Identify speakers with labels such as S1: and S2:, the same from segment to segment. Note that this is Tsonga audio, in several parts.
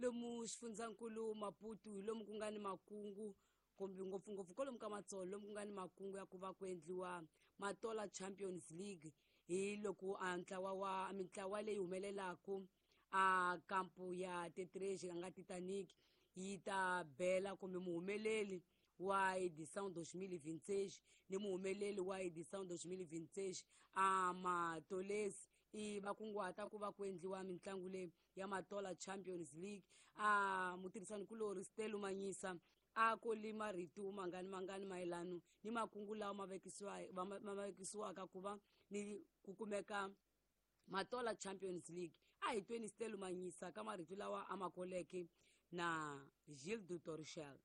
S1: Lomu xifundzankulu Maputo hi lomu ku nga ni makungu kumbe ngopfungopfu kwalomu ka Matsolo lomu ku nga ni makungu ya ku va ku endliwa Matola Champions League hi loko a ntlawa wa mintlawa leyi humelelaku a kampu ya Tetreji a nga Titanic yi ta bela kumbe muhumeleli wa edição 2026 ni muhumeleli wa edição 2026 a Matolesi i va kunguhata ku va ku endliwa mitlangu leyi ya Matola Champions League. A mutirhisani-kulorhi Stelo Manyisa a koli marito mangani mangani mayelano ni makungu lawa ma vekisiwaka ku va ni ku kumeka Matola Champions League. A hi tweni Stelo Manyisa ka marito lawa a ma koleke na Gilles Torchel.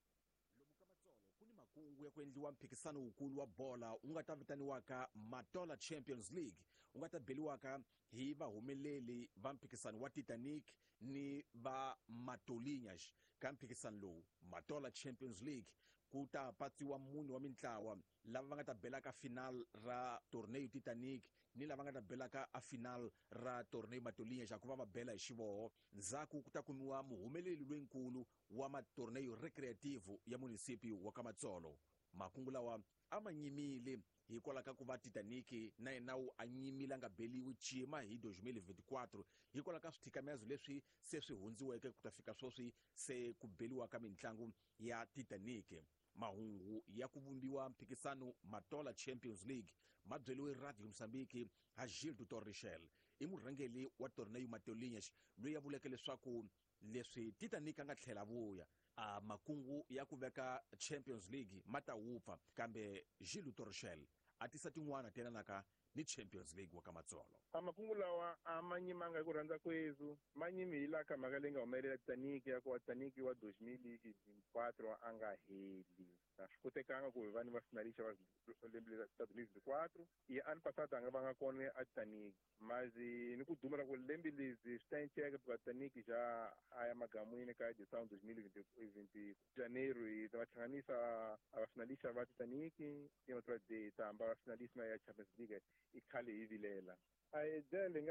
S2: Lomu ka Matsolo ku ni makungu ya ku endliwa mphikisano wukulu wa bola wu nga ta vitaniwaka Matola Champions League, wu nga ta beliwaka hi vahumeleli va mphikisano wa Titanic ni va Matolinhas. Ka mphikisano lowu Matola Champions League ku ta patsiwa mune wa mintlawa lava va nga ta belaka final ra torneo Titanic ni lava nga ta belaka a final ra torneo Matolinhas ku va va bela hi xivoho. Ndzhaku ku ta kumiwa muhumeleli loyinkulu wa matorneo recreativo ya municipio wa ka Matsolo. Makungu lawa a ma nyimile hikwalaho ka ku va Titanic na yena wu a nyimile a nga beliwi cima hi 2024 hikwalaho ka swithikamezo leswi se swi hundziweke ku ta fika sweswi se ku beliwa ka mitlangu ya Titanic. Mahungu ya ku vumbiwa mphikisano Matola Champions League ma byeliwe Radio Mozambique ha Gilles du Torrichel, i murhangeli wa torneo Matolinhas loyi a vuleke leswaku leswi Titanic a nga tlhela vuya a makungu ya ku veka Champions League ma ta wupfa, kambe Gilles Torchel a tisa tin'wana ti yelanaka ni Champions League wa ka Matsolo.
S3: A makungu lawa a ma nyimanga hi ku rhandza kwezu, ma nyimi hi laha ka mhaka leyi nga humelela Titanic ya ku wa Titanic wa 2004 a nga heli. A swi kotekanga ku hi va ni va finalista va lembe ta 2024 i ano passado a nga vanga kona a Titanic, mas ni ku duma ra ku lembe lezi swi ta enceka because Titanic já a ya magamwini ka edição 2020 janeiro hi ta va hlanganisa a va finalista va Titanic i outra de ta hamba va finalista ya Champions League i khale hi vilela a hi dele.